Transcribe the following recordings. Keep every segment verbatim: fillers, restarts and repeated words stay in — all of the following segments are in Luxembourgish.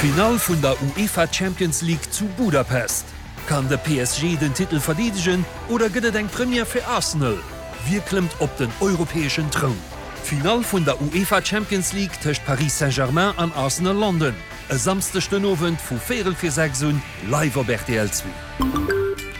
D'Finall vun der UEFA Champions League zu Budapest. Kann de P S G den Titel verdeedegen oder gëtt et eng Première fir Arsenal? Wie klëmmt op den europäeschen Troun? D'Finall vun der UEFA Champions League tëscht Paris Saint-Germain an Arsenal London. E Samschdeg den Owend vu véierel vir sechs un live op R T L zwee.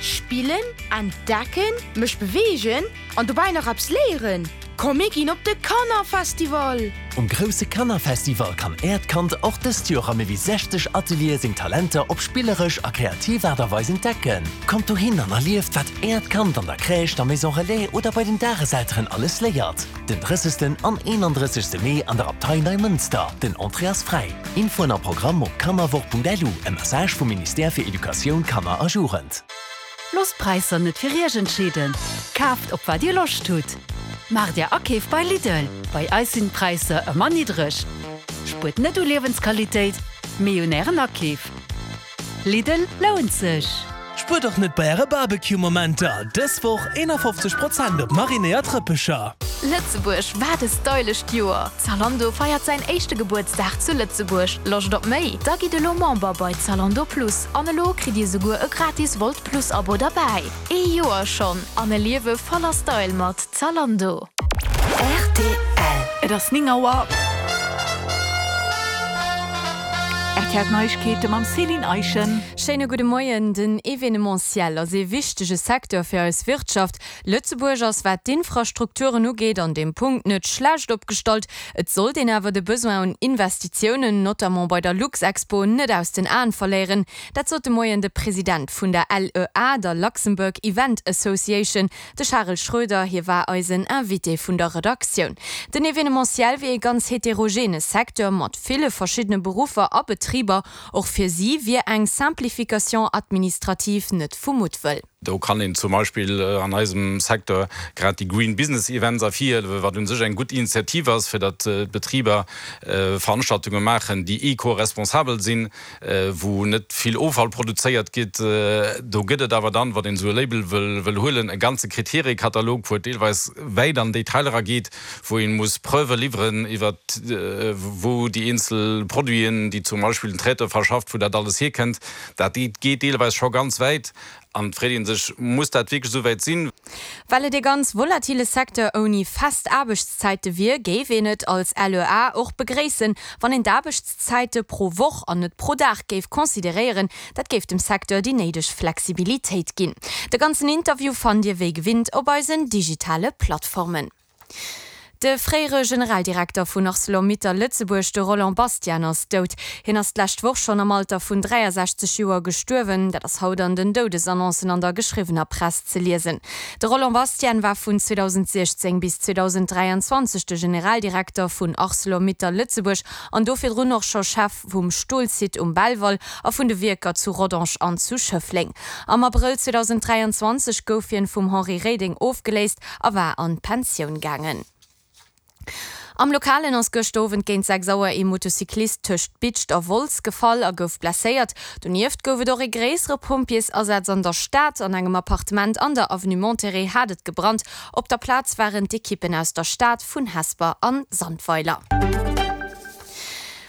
Spillen, entdecken, mech beweegen an dobäi nach eppes léieren. Komm mir ginn op de Kannerfestival! Um grousse Kannerfestival kann äert Kand och dëst Joer a méi wéi sechzeg Ateliere seng Talenter op spilleresch a kreativ Aart a Weis entdecken. Kommt dohin an erlieft, wat äert Kand an der Crèche, der Maison Relais oder bei den Dageselteren alles léiert. Den drëssegsten an eenandrëssegste Mee an der Abtei Neimënster. Den Entrée ass fräi. Infoen a Programm op kannerwoch Punkt L U, e Message vum Ministère fir Educatioun, Kanner a Jugend. Loosst d'Präisser net fir iech entscheeden. Kaaft op wat dir Loscht hutt. Maacht är Akeef bei Lidl. Bei eis sinn d'Präisser ëmmer niddreg. Spuert net u Liewensqualitéit, mee un ären Akeef. Lidl lount sech. Spuert och net bei äre Barbecue-Momenter. Dës Woch eenafofzeg Prozent op marinéiert Rëppecher. Lëtzebuerg, wat e stylescht Joer! Zalando feiert säin éischte Gebuertsdag zu Lëtzebuerg. Loscht op méi? Da gitt elo Member bei Zalando Plus. An elo kritt dir souguer e gratis Wolt Plus Abo derbäi. Ee Joer schonn an e Liewe voller Style mat Zalando. R T L. Et ass néng Auer. R T L Neiegkeete mam Céline Eischen. Schéine gudde Moien. Den Evenementiel ass e wichtege Secteur fir eis Wirtschaft. Lëtzebuerg ass, wat d'Infrastrukturen ugeet, an deem Punkt net schlecht opgestallt. Et sollt een awer de Besoin un Investitiounen, notamment bei der Luxexpo, net aus den Aen verléieren. Dat sot de Moien de President vun der L E A, der Luxembourg Event Association, de Charel Schroeder. Hie war eisen Invité vun der Redaktioun. Den Evenementiel wier e ganz heterogene Secteur mat ville verschiddene Beruffer a Betriber. Och fir si wier eng Simplification administrative net vu Muttwëll. Do kann een zum Beispill an eisem Secteur grad déi Green Business Events ervirhiewen, wat u sech eng gutt Initiativ ass, fir datt Betriber Veranstaltunge maachen, déi eco-responsabel sinn, wou net vill Offall produzéiert gëtt. Do gëtt et awer dann, wann een esou e Label wëll, wëll huelen, e ganze Kriteriekatalog, wou et deelweis wäit an Detailer erageet, wou ee muss Preuve liwweren iwwer wou déi eenzel Produiten, déi zum Beispill den Traiteur verschafft, wou dat alles hierkënnt. Dat geet deelweis scho ganz wäit an et freet ee sech, muss dat wierklech esou wäit sinn? Well et e ganz volatile Secteur ouni fest Aarbechtszäite wier, géif een et als L E A och begréissen, wann een d'Aarbechtszäite pro Woch an net pro Dag géif consideréieren. Dat géif dem Secteur déi néideg Flexibilitéit ginn. De ganzen Interview fannt dir wéi gewinnt op eisen digitale Plattformen. De fréiere Generaldirekter vun Arcelor-Mittal Lëtzebuerg, de Roland Bastian, ass dout. Hien ass d'lescht Woch schonn am Alter vun dräiasechzeg Joer gestuerwen. Dat ass haut an den Doudesannoncen an der geschriwwener Press ze liesen. De Roland Bastian war vun zweedausendsiechzéng bis zweedausendräianzwanzeg de Generaldirekter vun Arcelor-Mittal Lëtzebuerg an do virdrun och scho Chef vum Stolsite um Belval a vun de Wierker zu Rodange an zu Schëffleng. Am Abrëll zweedausendräianzwanzeg gouf hien vum Henri Reding ofgeléist a war an d'Pensioun gaangen. Am Lokalen ass gëschter Owend géint sechs Auer ee Motocyclist tëscht Bidscht a Wolz gefall a gouf blesséiert. Donieft gouf et och e gréissere Pompjeesasaz an der Stad. An engem Appartement an der Avenue Monterey hat et gebrannt. Op der Plaz waren d'Ekippen aus der Stad, vun Hesper an Sandweiler.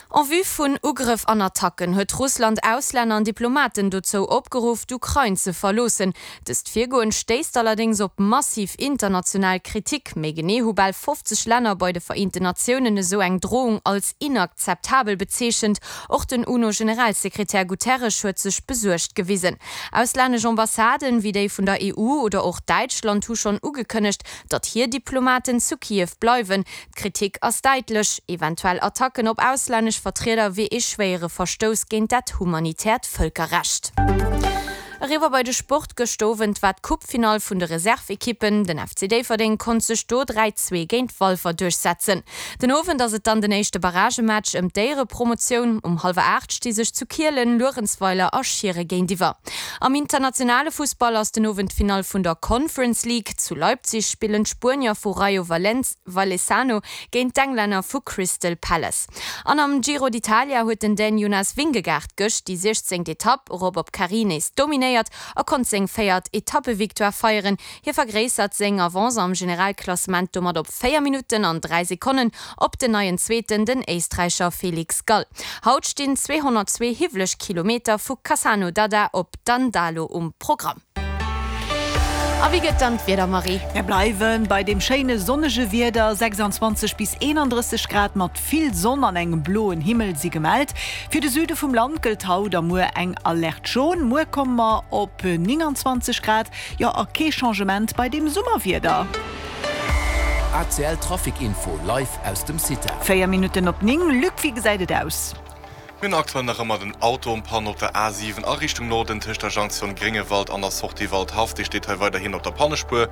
En vue vun Ugrëff an Attacken huet Russland Auslänner an Diplomaten dozou opgeruff, d'Ukrain ze verloossen. Dëst Virgoen stéisst allerdéngs op massiv international Kritik. Méi genee hu bal fofzeg Länner bei de Vereenten Natiounen esou eng Drohung als inakzeptabel bezeechent. Och den UNO-Generalsekretär Guterres huet sech besuergt gewisen. Auslännesch Ambassaden, wéi déi vun der E U oder och Däitschland, hu schonn ugekënnegt, datt hir Diplomaten zu Kiew bleiwen. D'Kritik ass däitlech, eventuell Attacken op auslännesch Vertrieder wier ee schwéiere Verstouss géint dat humanitäert Vëlkerrecht. Eriwwer bei de Sport. Gëschter Owend war d'Coupe-Finall vun de Reserve-Ekippen. Den F C Déifferdeng konnt sech do dräi, zwee géint Walfer duerchsetzen. Den Owend ass et dann den éischte Barragematch ëm d'Éierepromotioun. Um hallwer aacht sti sech zu Kielen Luerenzweiler a Schiere géintiwwer. Am internationale Fussball ass den Owend d'Finall vun der Conference League. Zu Leipzig spillen d'Spuenier vu Rayo Vallecano géint d'Englänner vu Crystal Palace. An am Giro d'Italia huet den Dän Jonas Vingegaard gëscht déi siechzéngt Etapp erop op Carrì nees dominéiert. dominéiert a konnt seng véiert Etappevictoire feieren. Hie vergréissert seng Avance am Generalklassement domat op véier Minutten an dräi Sekonnen op den neien Zweeten, den Éisträicher Felix Gall. Haut stinn zweehonnertzwee hiwweleg Kilometer vu Cassano d'Adda op Dandalo um Programm. A wéi gëtt dann d'Wieder, Marie? Mir bleiwe bei deem schéine sonnege Wieder, sechsundzwanzeg bis eenandrësseg Grad mat vill Sonn an engem bloen Himmel si gemellt. Fir de Süde vum Land gëllt haut a muer eng Alerte jaune. Muer komme mer op nénganzwanzeg Grad, jo a kee Changement bei deem Summerwieder. A C L Trafic Info live aus dem CITA. Véier Minutten op néng, Luc, wéi gesäit et aus? Mir hunn aktuell nach ëmmer den Auto en panne op der A siwen a Richtung Norden tëscht der Jonction Gréngewald an der Sortie Waldhaff. Dee steet hei weiderhin op der Pannespuer.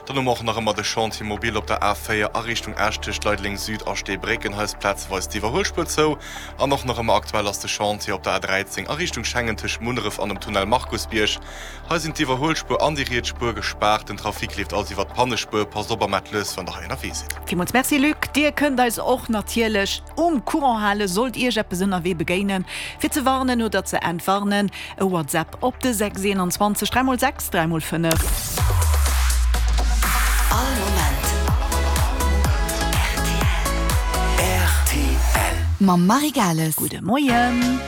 Dann hu mer och nach ëmmer de Chantier mobile op der A véier a Richtung Esch tëscht Leideleng Süd a Steebrécken. Hei ass plazeweis d'Iwwerhuelspuer zou. An och nach ëmmer aktuell ass de Chantier op der A dräizéng a Richtung Schengen tëscht Munneref an dem Tunnel Markusbierg. Hei sinn d'Iwwerhuelspuer an déi riets Spuer gespaart. Den Trafic leeft also iwwer d'Pannespuer. Passt op a maacht lues, wann der hei ënnerwee sidd. Villmools Merci Luc. Dir kënnt eis och natierlech um Courant halen, sollt Iech eppes ënnerwee begéinen. Fir ze warnen oder ze entwarnen, e WhatsApp op de sechs eenanzwanzeg dräi mol sechs dräi mol fënnef. All Moment rtl. Mam Marie Gales. Gudde Moien.